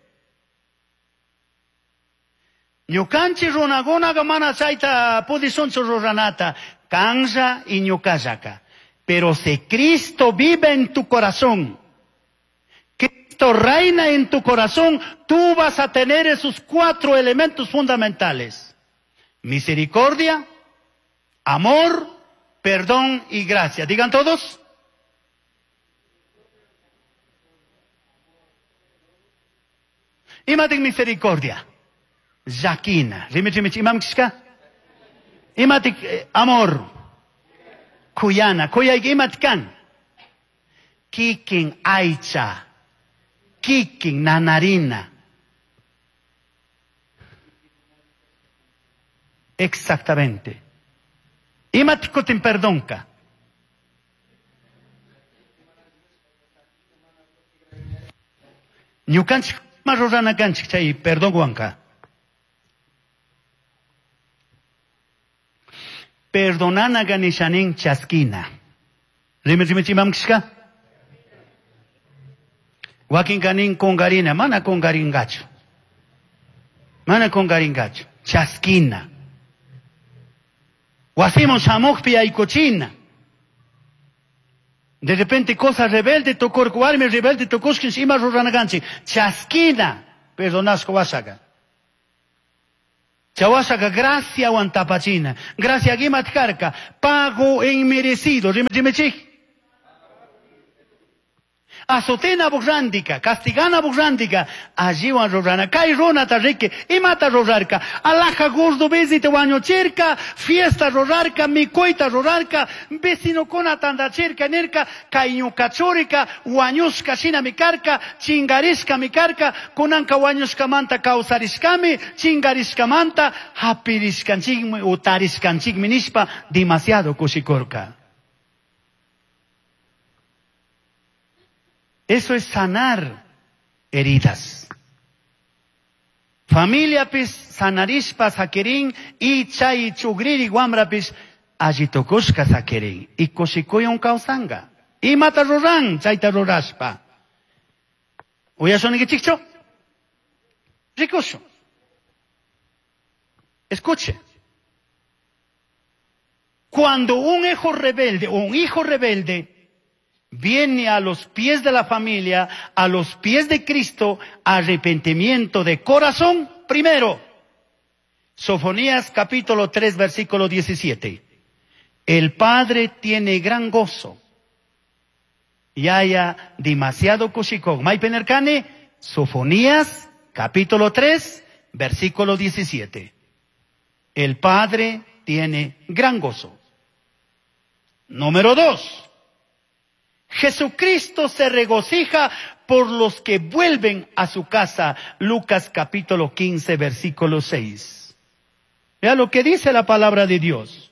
Ñukanchik runakunaqa mana chayta pudishunchu ruranata, kanlla y ñukallaka. Pero si Cristo vive en tu corazón, Cristo reina en tu corazón, tú vas a tener esos cuatro elementos fundamentales: misericordia, amor, perdón y gracia. Digan todos. Imatik misericordia. Llakina. Rimi, rimi, imam kishka? Imatik eh, amor. Kuyana. Kuyayki imatik kan? Kikin aycha. Kikin nanarina. Exactamente. Imatik kutin perdonka. Ñukanchik ma rurana kanchik chay perdonwanka. Perdonanaganishanin chaskina. Rimi, rimi, imam kishka? Wakin kanin kungarina, mana kungaringachu. Mana kungaringachu. Chaskina. Wasimun shamukpi aykuchina. De repente cosa rebelde tukurka, warmi rebelde tukushkinchik, ima ruranakanchik, chaskina, perdonashka washaka. Chawashaka gracia tapachina. Gracia imat karka, pago inmerecido. Rimechik. Azotena burrandika, castigana burrandika, alliwan rurana, kay runata riki, imata rurarka, alaja gordo bezite wañuchirka, fiesta rurarka, mikuyta rurarka, vecinokuna tandachirka, nirka, kay ñuka churika, wañushka shinami karka, chingarishkami karka, kunanka wañushkamanta kawsarishkami, chingarishkamanta hapirishkanchikmi, utarishkanchikmi nishpa, demasiado kushikurka. Eso es sanar heridas. Familiapis sanarishpa sakirin y chay chugriri wamrapis allitukushka sakirin. Y kushikuyun kawsanga. Imata ruran chayta rurashpa. Uyashunikichikchu? Rikushu. Escuche. Cuando un hijo rebelde, un hijo rebelde viene a los pies de la familia, a los pies de Cristo, arrepentimiento de corazón primero. Sofonías capítulo tres, versículo diecisiete. El Padre tiene gran gozo. Y haya demasiado kushikón. Maipenerkane, Sofonías capítulo tres, versículo diecisiete. El Padre tiene gran gozo. Número dos. Jesucristo se regocija por los que vuelven a su casa. Lucas capítulo quince, versículo seis. Vea lo que dice la palabra de Dios.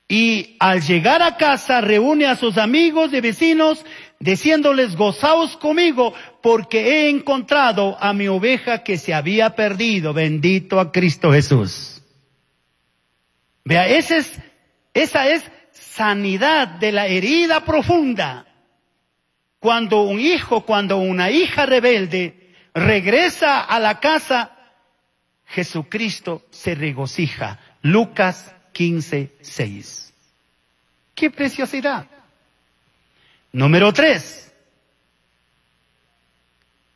Y al llegar a casa reúne a sus amigos y vecinos, diciéndoles: gozaos conmigo, porque he encontrado a mi oveja que se había perdido. Bendito a Cristo Jesús. Vea, ese es, esa es sanidad de la herida profunda. Cuando un hijo, cuando una hija rebelde regresa a la casa, Jesucristo se regocija. Lucas quince, seis. ¡Qué preciosidad! Número tres.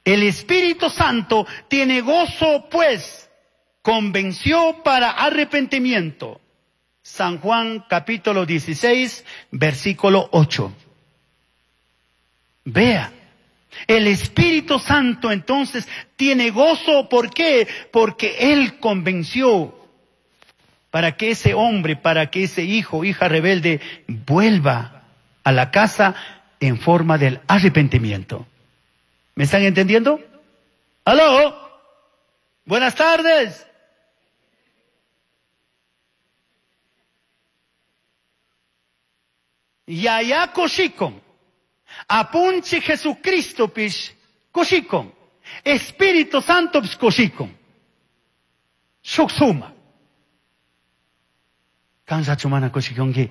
El Espíritu Santo tiene gozo, pues, convenció para arrepentimiento. San Juan capítulo dieciséis, versículo ocho. Vea, el Espíritu Santo entonces tiene gozo. ¿Por qué? Porque Él convenció para que ese hombre, para que ese hijo, hija rebelde, vuelva a la casa en forma del arrepentimiento. ¿Me están entendiendo? ¡Aló! Buenas tardes. Yaya kushikon, apunche Jesucristo pish kushikon, Espíritu Santo pish kushikon, shuksuma. Kansa chumana kushikonki,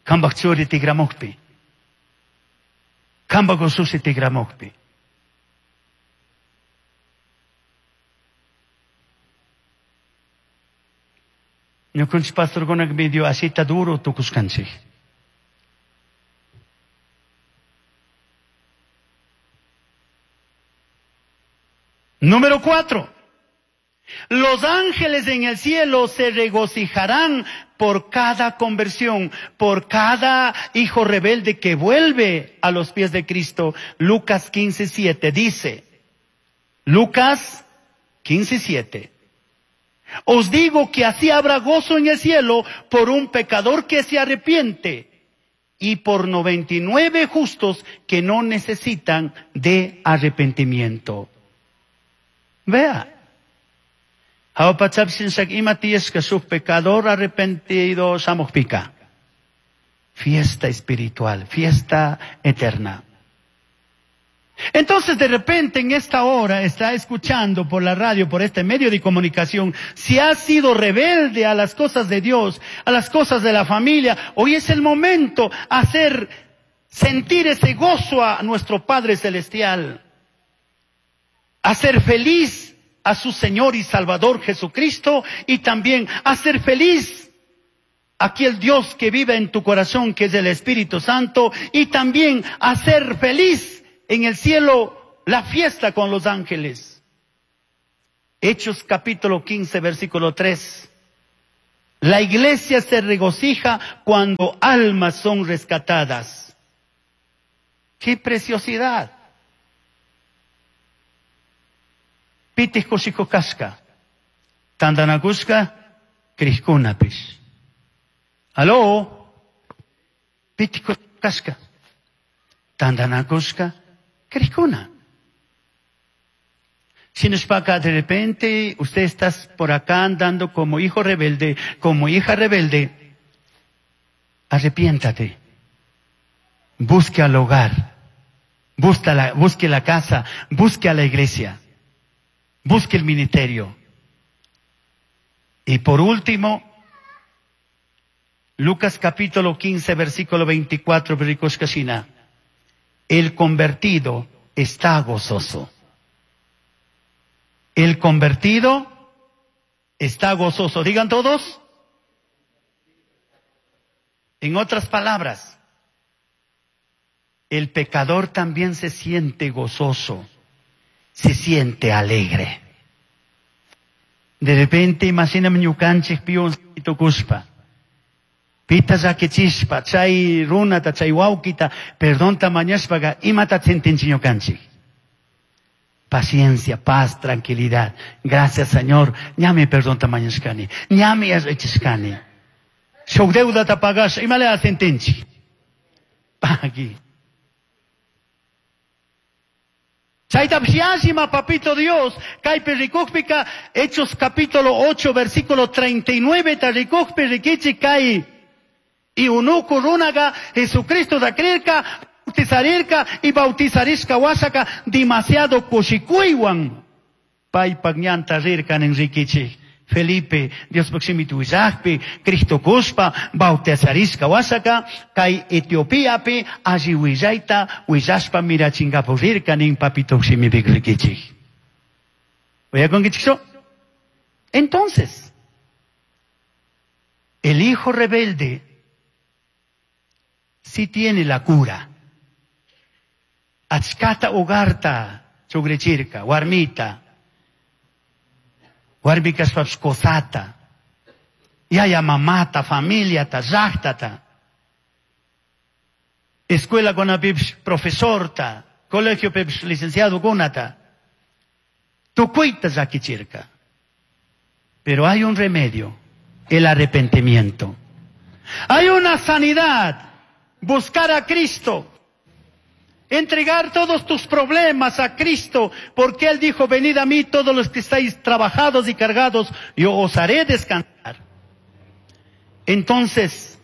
kambak churi tigramukpi, kambak ususi tigramukpi. Ñukanchik pastorkunak medio asita duro tukuskanchik. Número cuatro. Los ángeles en el cielo se regocijarán por cada conversión, por cada hijo rebelde que vuelve a los pies de Cristo. Lucas quince, siete dice. Lucas quince, siete. Os digo que así habrá gozo en el cielo por un pecador que se arrepiente y por noventa y nueve justos que no necesitan de arrepentimiento. Vea. Pecador arrepentido shamuhpika. Fiesta espiritual, fiesta eterna. Entonces de repente en esta hora está escuchando por la radio, por este medio de comunicación, si ha sido rebelde a las cosas de Dios, a las cosas de la familia, hoy es el momento hacer sentir ese gozo a nuestro Padre Celestial, hacer feliz a su Señor y Salvador Jesucristo y también hacer feliz Aquel Dios que vive en tu corazón, que es el Espíritu Santo, y también hacer feliz en el cielo la fiesta con los ángeles. Hechos capítulo quince, versículo tres. La iglesia se regocija cuando almas son rescatadas. ¡Qué preciosidad! Pitij kushikushka, tandanakushka, crijkunapish. Aló, pitij kushikushka, tandanakushka, crijkuna. Si nos paga de repente, usted está por acá andando como hijo rebelde, como hija rebelde, arrepiéntate. Busque al hogar, busque la, busque la casa, busque a la iglesia, busque el ministerio. Y por último, Lucas capítulo quince, versículo veinticuatro, versículo el convertido está gozoso. El convertido está gozoso. Digan todos. En otras palabras, el pecador también se siente gozoso, se siente alegre. De repente, imagíname ñukanchik pion tukuspa. Pita llakichispa, chay runata, chay wawkita, perdonta mañashpaga, imata sintinchik ñukanchik. Paciencia, paz, tranquilidad. Gracias, Señor. Ñami perdonta mañashkani. Ñami arrechishkani. Shuk deudata pagash, imale asentinchik. Pagui. Chayta psiashima, papito Dios, kaypi rikukpika, Hechos capítulo ocho, versículo treinta y nueve, ta rikukpi rikichi kay. Y unuku runaga, Jesucristo da creerka, bautizarirka y bautizarishka wasaka demasiado kushikuywan. Paypak ñanta rirkan en rikichi. Felipe, Dios proximito willakpi, Cristo kuspa, bautizarishka wasaka, kay Etiopiapi, alli willayta, willashpa mirachingapu rirkan en papito ximipik rikichi. ¿Oye? Entonces, el hijo rebelde sí tiene la cura. Achkata hogarta, chugrechirka, warmita, warmikaspapish kosata, yaya mamata, familiata, llaqtata, escuela kunapipish profesorta, colegio pipish licenciado kunata, tukuyta llakichirka. Pero hay un remedio, el arrepentimiento. Hay una sanidad, buscar a Cristo. Entregar todos tus problemas a Cristo, porque Él dijo, venid a mí todos los que estáis trabajados y cargados, yo os haré descansar. Entonces,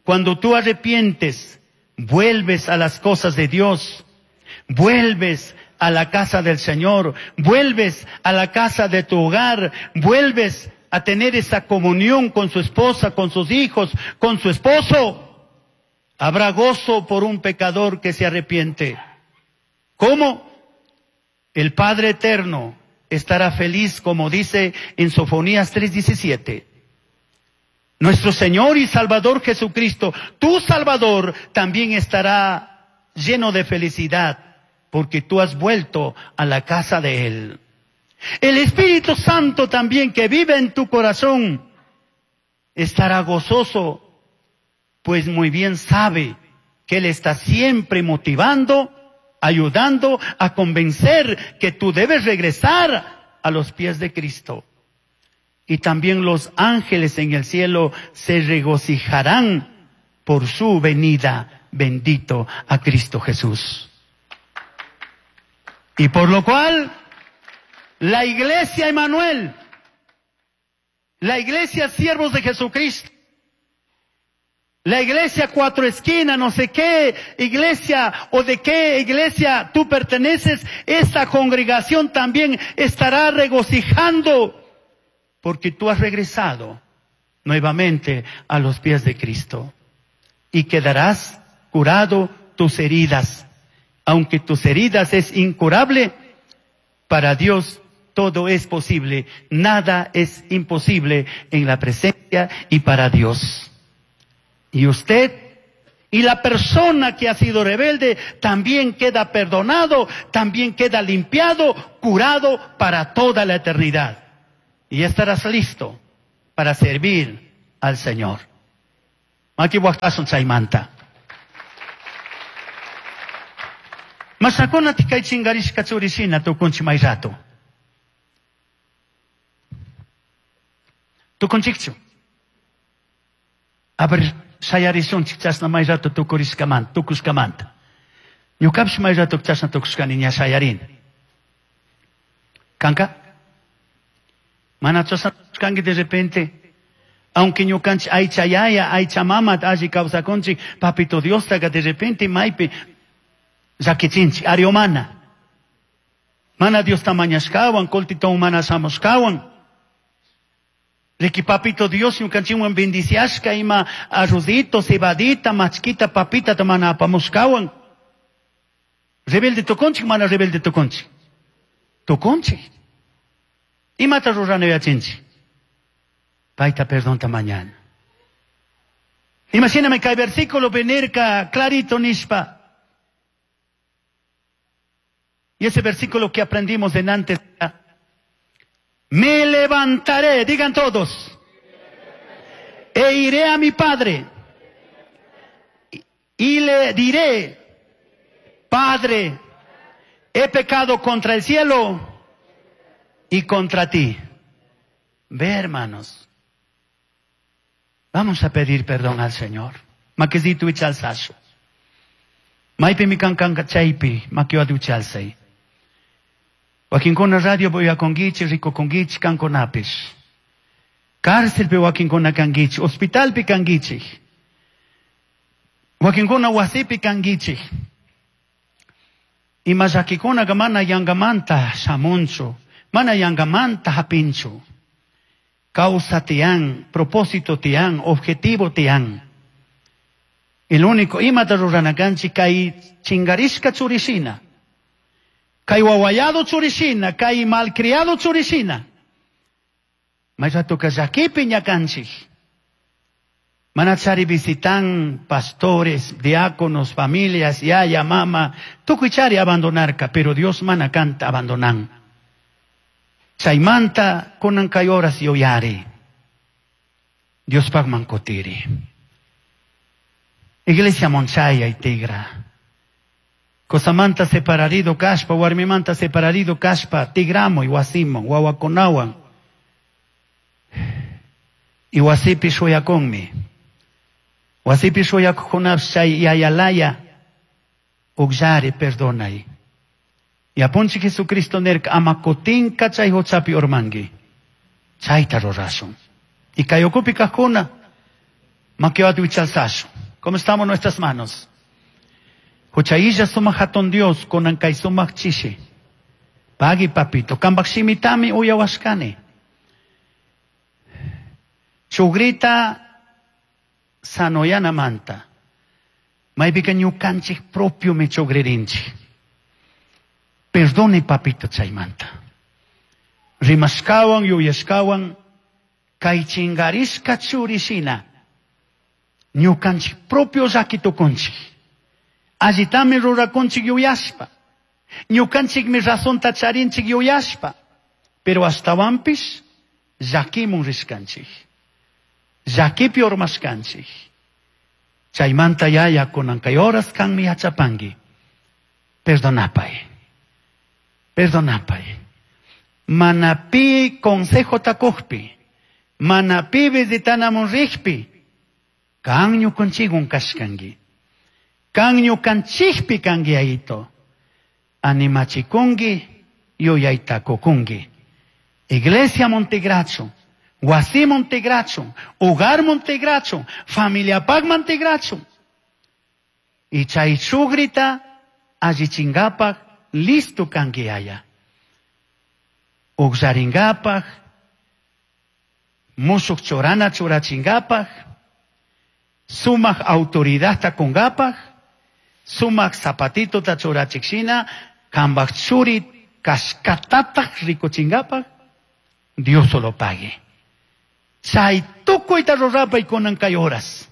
cuando tú arrepientes, vuelves a las cosas de Dios, vuelves a la casa del Señor, vuelves a la casa de tu hogar, vuelves a tener esa comunión con su esposa, con sus hijos, con su esposo. Habrá gozo por un pecador que se arrepiente. ¿Cómo? El Padre Eterno estará feliz, como dice en Sofonías tres diecisiete. Nuestro Señor y Salvador Jesucristo, tu Salvador, también estará lleno de felicidad, porque tú has vuelto a la casa de Él. El Espíritu Santo también, que vive en tu corazón, estará gozoso, pues muy bien sabe que Él está siempre motivando, ayudando a convencer que tú debes regresar a los pies de Cristo. Y también los ángeles en el cielo se regocijarán por su venida, bendito a Cristo Jesús. Y por lo cual, la iglesia Emanuel, la iglesia Siervos de Jesucristo, la iglesia Cuatro Esquinas, no sé qué iglesia o de qué iglesia tú perteneces, esta congregación también estará regocijando porque tú has regresado nuevamente a los pies de Cristo y quedarás curado tus heridas. Aunque tus heridas es incurable, para Dios todo es posible, nada es imposible en la presencia y para Dios. Y usted y la persona que ha sido rebelde también queda perdonado, también queda limpiado, curado para toda la eternidad. Y estarás listo para servir al Señor. Maki waqtasun chaymanta. Masakuna tikay chingarishka churishina tukunchi may rato. Tukunchikchu. A ver, shayarisunchik chashna may rato tukurishkamanta, tukushkamanta. Ñukapish may rato chashna tukushkani ña shayarin. Kanka? Mana chashna tukushkanki de repente, aunque ñukanchik aycha yaya, aycha mama alli kawsakunchik, papito Diostaqa de repente maypi llakichinchik, ariomana. Mana Diosta mañashkawan, kultitawan mana shamushkawan. Riki papito Dios ñukanchikwan bendiciashka ima arrozito, cebadita, machquita, papita mana apamushkawan. Rebelde tukunchik, mana rebelde tukunchik. Tukunchik. Imata rurana yachinchik. Paita perdonta mañana. Imagíname que hay versículo venirka clarito nishpa. Y ese versículo que aprendimos en antes, me levantaré, digan todos, e iré a mi padre y le diré, Padre, he pecado contra el cielo y contra ti. Ve, hermanos, vamos a pedir perdón al Señor. Maquisitu ichalsashu. Maipi mi kankanka chaypi, makiwa duchalsay. Wakinkuna radio voy a conguichi, rico conguichi, kankonapish. Cárcel pe wakinkuna kanguichi, hospital pi kanguichi. Wakinkuna wasipi kanguichi. Ima llakikuna mana yangamanta shamunchu, mana yangamanta hapinchu. Causa tian, propósito tian, objetivo tian. El único imata ruranakanchi kay chingarishka churishina. Kay wawayado churishina, kay malcriado churishina. Mayrato llakipi ñakanchik. Manachari visitan pastores, diáconos, familias, yaya, mama, tukuy chari abandonarka, pero Dios mana kanta abandonan. Chaymanta kunan kay horas yuyari. Dios pagman kutiri. Iglesia monchaya y tigra. Kosamanta separarido kashpa, warmimanta separarido kashpa, tigramo y wasimo, wawakunawan. Y wasipi shuyakunmi. Wasipi shuyakunash chay yayalaya, ukllari perdonay. Y apunchi Jesucristo nerka amakutinka chay huchapi urmangi. Chayta rurashun. Y kayukupi kajkuna, makiwati wichalsashun. ¿Cómo estamos nuestras manos? Huchayilla sumaq hatun Dios, kunan kay sumaq chishi. Pagi papito, kambaq shimitami uyawashkani. Chugrita sanoyana manta. Maypika ñukanchik propio mi chugririnchik. Perdone papito chaymanta. Rimashkawan, yuyashkawan, kay chingarishka churishina. Ñukanchik propio llaki tukunchik. Allitami rurakunchik yuyashpa. Ñukanchikmi razonta charinchik yuyashpa. Pero ashtawanpish llakimun rishkanchik. Llakipi urmashkanchik. Chaymanta yaya kunan kay horas kanmi yachapanki. Perdonapay. Perdonapay. Mana pi consejo takujpi. Mana pi visitanamun rijpi. Kan ñukanchikwan kashkanki. Kan ñukanchikpi kanki ayito. Animachikunki, yuyayta kukunki. Iglesia Montegracho, wasi Montegracho, hogar Montegracho, familia pag Montegracho. Y chay chugrita allichingapak listo kanki aya. Uqllaringapak, musuq churana churachingapak, sumaq autoridadta kungapak, sumaq zapatitota churachikshina, kambaq churi kashkatataq rikuchingapak, Dios solo pague. Chay tukuyta rurapay kunan kay horas.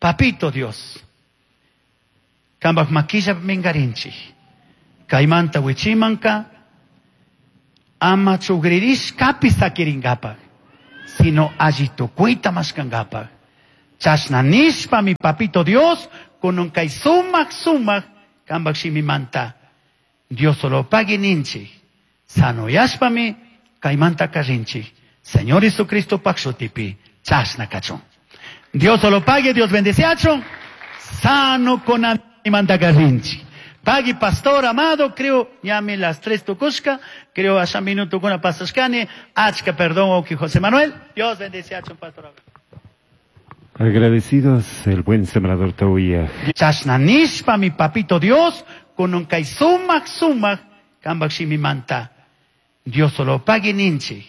Papito Dios. Cambaj maquilla mingarinchij. Caimanta huichimanca ama chugririshcapi saquiringapaj, sino alli tucuita mashcangapaj. Chashna nishpa mi papito Dios, kunan kay sumak sumak cambaj shimimanta. Dios solo pagui ninchij. Sanoyashpami caimanta carrinchij. Señor Jesucristo paj shutipi, chashna cachun. Dios solo pague, Dios bendeciachun. Sano con manta carrinchij. Pagui pastor amado, creo, ñami las tres tucushka, creo asha minuto kuna pasashkani, achka perdón, oki José Manuel. Dios bendeciachun, pastor. Agradecidos el buen sembrador Tauya. Chashna nishpa mi papito Dios, kunan kay sumak sumak, cambaj shimimanta. Dios solo pagui ninchij.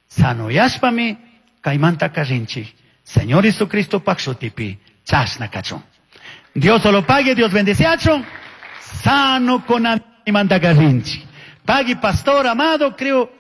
Sanoyashpami, caimanta carrinchij. Señor Jesucristo paj shutipi, chashna cachun. Dios solo pague, Dios bendeciachun. Sano con manta carrinchij. Pagui pastor amado, creo,